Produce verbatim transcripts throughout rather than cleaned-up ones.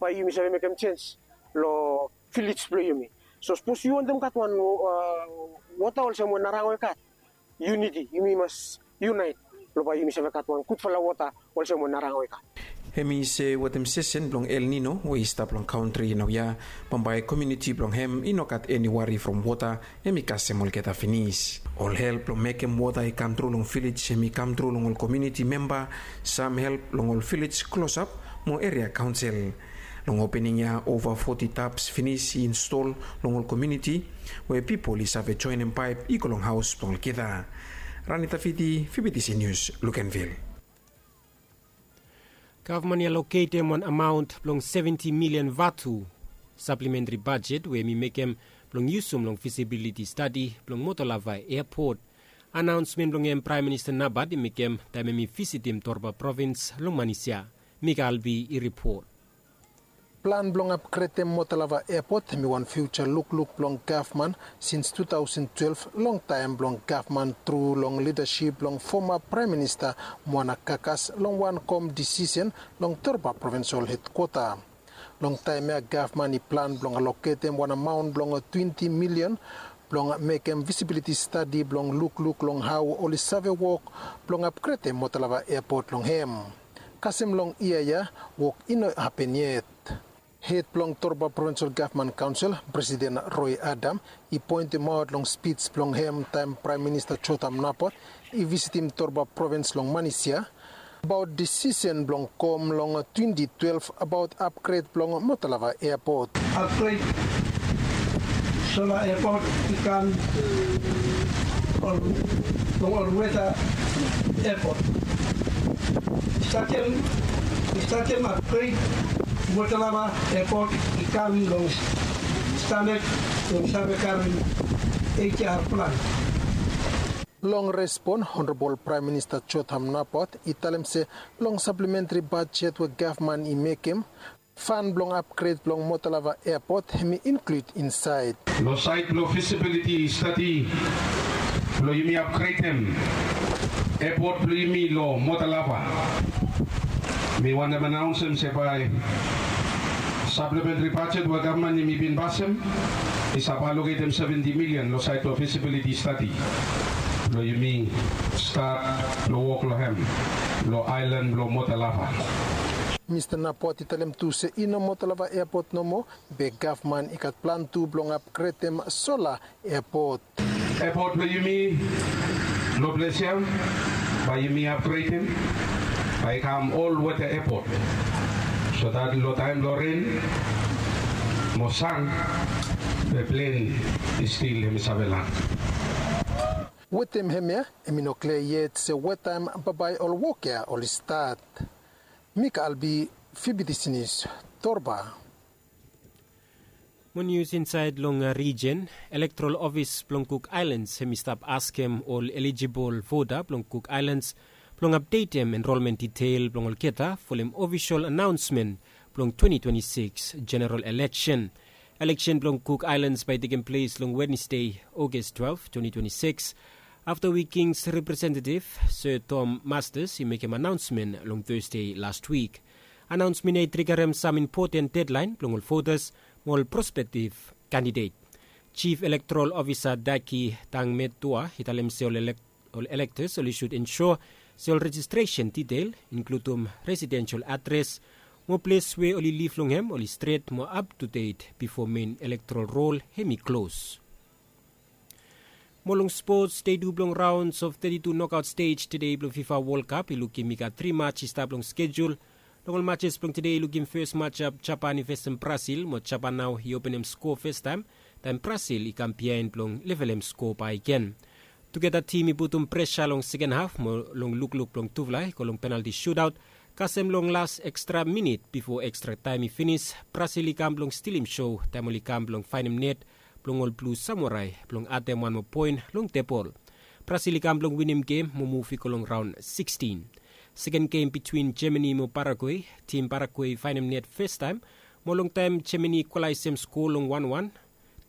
bae yumi save mekem jens long vilej blong yumi. So sapos yu wantem gat wan wota olsem we Narango i gat, yuniti, yumi mas yunait blong bae yumi save gat wan gudfala wota olsem we Narango i gat. Hem i se wetem sesen blong El Nino we i stap long kantri naoia, bambae komuniti blong hem i no gat eni wari from wota, hem i kasem olgeta finis. Ol help blong mekem wota i kamtru long vilej hem i kamtru long ol komuniti memba, sam help long ol vilej klosap mo eria kaonsel. Long opening ya ova foti taps finis i install long ol komuniti we pipol i save joenem paep i go long haos blong olgeta. Rani Tafiti, Fibitisi Nius, Lukenvil. Gavman i aloketem wan amaon blong seventi milian vatu saplementri bajet we hem i mekem blong yusum long fisibiliti stadi blong Motolava Eapot. Anaonsmen blong hem Praem Minista Nabat i mekem taem hem i visitim Torba provins long Manisia. Mika Albi i ripot. Plan blong apgredem Motolava Eapot hem i wan fiuja lukluk blong gavman sins tu taosen twelef, long taem blong gavman tru long lidasip blong foma Praem Minista Muana Kakas long wan kom disisen long Torba provinsol hedkwota. Long taem ya gavman i plan blong aloketem wan amaon blong twenti milian blong mekem visibiliti stadi blong lukluk long hao oli save wok blong apgredem Motolava Eapot long hem. Kasem long yia ya, wok i no hapen yet. Hed blong Torba Provinsal Gavman Kaonsel, Presiden Roy Adam, i poentemaot long spij blong hem taem Praem Minista Jotham Napat i visitim Torba Provins long Manisia abaot disisen blong kom long twenti twelef abaot apgred blong Motolava Eapot. Apgred sola eapot i kam long olweta eapot. Statem statem apgred Motolava Eapot i kam long standad blong save karem eijar plan. Long respon, Honorabol Praem Minista Jotham Napat i talem se long saplementri bajet we gavman i mekem, fan blong apgred blong Motolava Eapot hem i inklud insaed. Long saed blong fisibiliti stadi blong yumi apgredem eapot blong yumi long Motolava, mi wantem anaonsem se bae saplementri bajet we gavman yumi bin pasem i save aloketem seventi milian long saed blong fisibiliti stadi blong yumi stat blong wok long hem long aelan blong Motolava. Mista Napat i talem tu se i no Motolava Eapot nomo, be gavman i gat plan tu blong apgredem sola eapot. Eapot blong yumi long ples ya bae yumi apgredem, bae i kam olweta eapot, so dat long taem blong ren mo san, be plen i stil hem i save lan. Wetem hemia hem i no klia yet se wetaem bambae ol wok ya oli stat. Mika Albi, Fibitisi Nius, Torba. Mo nius insaed long rijen, Elektoral Ofis blong Kuk Aelans hem i stap askem ol elijibol vota blong Kuk Aelans blong apdetem enrolmen diteil blong olgeta folem ofisol anaonsmen blong twenti twenti sikis jeneral eleksen. Eleksen blong Kuk Aelans bae i tekem ples long Wednesde, Ogas twelef, twenti twenti sikis, afta we Kings representetiv Sir Tom Masters i mekem anaonsmen long Tasde las wik. Anaonsmen ya i trigarem sam impoten dedlaen blong ol votas mo ol prospektiv kandidet. Jif Elektoral Ofisa Daki Tangmetua i talem se ol elektas oli sud ensua se ol rejistresen diteil, inkludum residensel adres mo ples we oli liv long hem, oli stret mo aptudet bifo men elektoral rol hem i klos. Mo long spots, dei tu blong raons of teti tu nokaot stej tede blong Fifa Wol Kap i lukim i gat tri maj i stap long skejul. Long ol majes blong tede i lukim fes majap Japan i fesem Brasil mo Japan nao i openem skoa fastaem, taem Brasil i kam biaen blong levelem skoa bakegen. Tugeta tim i putum presa long seken haf mo long lukluk blong tufala i go long penalti sutaot kasem long las ekstra minit bifo ekstra taem i finis, Brasil i kam blong stilim so taem oli kam blong faenem net blong ol Blu Samurai blong adem wan moa poen long tebol. Brasil i kam blong winim gem mo muv i go long raon sikstin. Seken gem bitwin Jemani mo Paraguei, tim Paraguei i faenem net fastaem mo long taem Jemani i kwalaesem skoa long wanwan,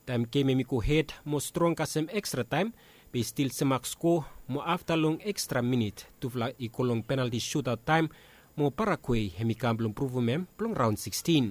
taem gem hem i go hed mo strong kasem ekstra taem, be i stil semak skoa mo afta long ekstra minit tufala i go long penalti sutaot taem mo Paraguei hem i kam blong pruvum hem blong raon sikstin.